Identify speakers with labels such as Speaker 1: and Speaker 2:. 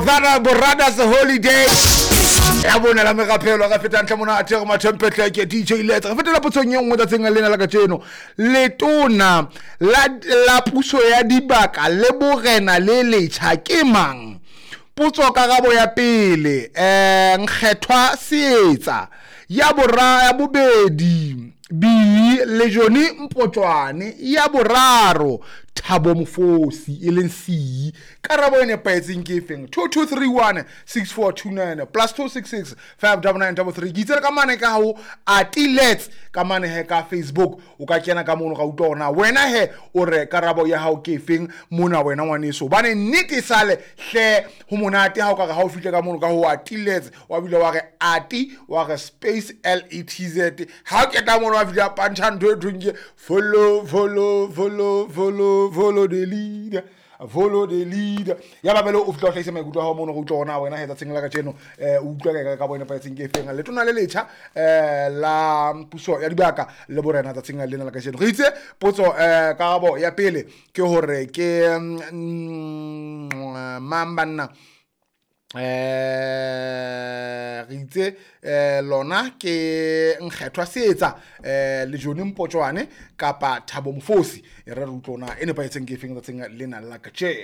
Speaker 1: Borada's holiday ya bone la merapelo. Re feta ntle mona athe re mathempetleke DJ Letsa. Re fetela potsong e nngwe tsatsing lena la kajeno. Letona la puso ya dibaka le borena le letjha ke mang? Potso karabo ya pele, Nkgethwa Seetsa. Ya bora ya bobedi, B le Johnny Mpotswane. Ya boraro, Thabo Mofosi e leng C. Karabo e nepahetseng ke efeng? 2231 6429 plus 266 59933. Ke itsele ka mane ka ho Atilets ka mane he ka Facebook, o ka kena ka mono, ra utlwa hore na wena he o re karabo ya hao ke efeng mona wena ngwaneso. Hobane nnete sale hle ho monate ha o ka re ha o fihle ka mono ka ho Atilets, wa bile wa re ati, wa re space LETZ. Ha o keta mono wa fihla pantšha ntho e thweng ke follow, follow, follow, follow, follow the leader, follow the leader. Ya babele o fihla o hlahisa maikutlo a hao mono, re utlwa hore na wena he tsatsing la kajeno o utlwa ka ka bo nepahetseng ke efeng. Letona le letjha la puso ya dibaka le borena tsatsing lena la kajeno. Re itse potso, karabo ya pele ke hore ke mang banna? Re itse lona ke Nkgethwa Seetsa, le Johnny Mpotswane kapa Thabo Mofosi. E re re utlwa na e nepahetseng ke efeng tsatsing lena la kajeno.